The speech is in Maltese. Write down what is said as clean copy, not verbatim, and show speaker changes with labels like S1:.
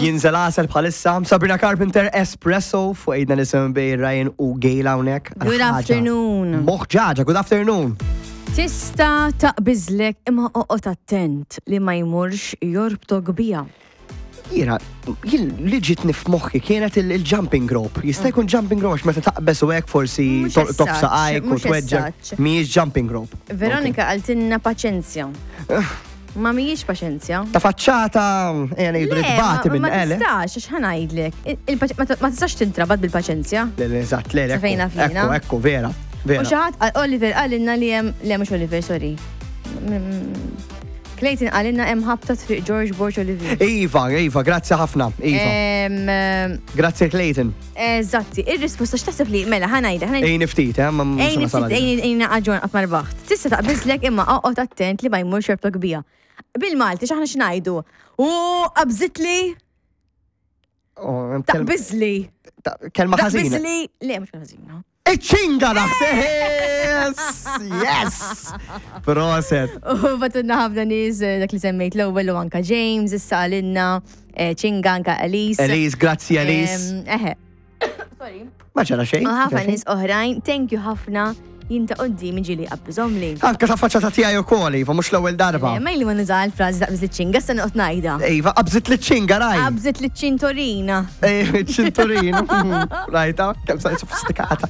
S1: Jinżel għasel bħalissa. Sabrina Carpenter, Espresso, fuq għidna nisim bej Ryan u Gail hawnhekk.
S2: Good afternoon.
S1: Moħġaġa, good afternoon.
S2: Tista taqbiżlek imma oqgħod attent li ma jmurx jorbtok bija.
S1: Jiena, jien li ġitni f'moħħi kienet il-jumping rope. Jista' jkun jumping rope għax meta taqbeż u hekk forsi
S2: Mhux
S1: tolqtok
S2: as such,
S1: saqajk u
S2: mhux as
S1: tweġġa.
S2: such.
S1: Mhijiex jumping rope.
S2: Veronika qaltilna paċenzja. Ma mhijiex paċenzja.
S1: Ta' faċċata, ejja ngħidu li
S2: Le,
S1: tbati
S2: ma
S1: minn
S2: ma
S1: ele.
S2: tistax, għax ħa ngħidlek. Ma tistax tintrabat bil-paċenzja.
S1: Le, le, eżatt, le, le,
S2: Sa fejna
S1: ekku,
S2: fina.
S1: ekku, ekku, vera,
S2: U
S1: vera.
S2: xi ħadd Oliver qalilna li hemm, le mhux Oliver, sorry. Clayton qalilna hemm ħabta triq George Borg Olivier.
S1: Iva, Iva, grazzi ħafna, Iva. Grazzi Clayton.
S2: Eżatti, ir-risposta x'taħseb li mela ħa ngħidha, ħa ngħidha.
S1: Ejni ftit, eh, ma mhux
S2: Ejni
S1: nasal
S2: ftit,
S1: għalija.
S2: ejni ejni aġġorn qatt ma rbaħt. Tista' taqbiżlek imma oqgħod attent li ma jmurx jorbtok bija. Bil-Malti x'aħna x'ngħidu? U qabżitli,
S1: Oh,
S2: taqbiżli.
S1: Kelma ħażina.
S2: Taqbiżli. Le, mhux ħażina.
S1: Iċ-ċinga naħseb! Yes! Yes! Proset.
S2: U batunna ħafna nies dak li semmejt l-ewwel u anka James, issa għalinna, ċinga anka Elise.
S1: Elise, grazzi Elise.
S2: Eħe. Sorry.
S1: Ma ġara xejn.
S2: U ħafna nies oħrajn, thank you ħafna, jien ta' qoddim ġieli qabżhomli.
S1: Anka ta' faċċata tiegħi ukoll, Iva, mhux l-ewwel darba.
S2: Ma ili ma nuża l-frażi taqbiż iċ-ċinga, issa noqgħod ngħidha.
S1: Iva, qabżit li ċinga raj.
S2: Qabżit li ċintorina.
S1: Ċinturin. Rajta, kemm sa sofistikata.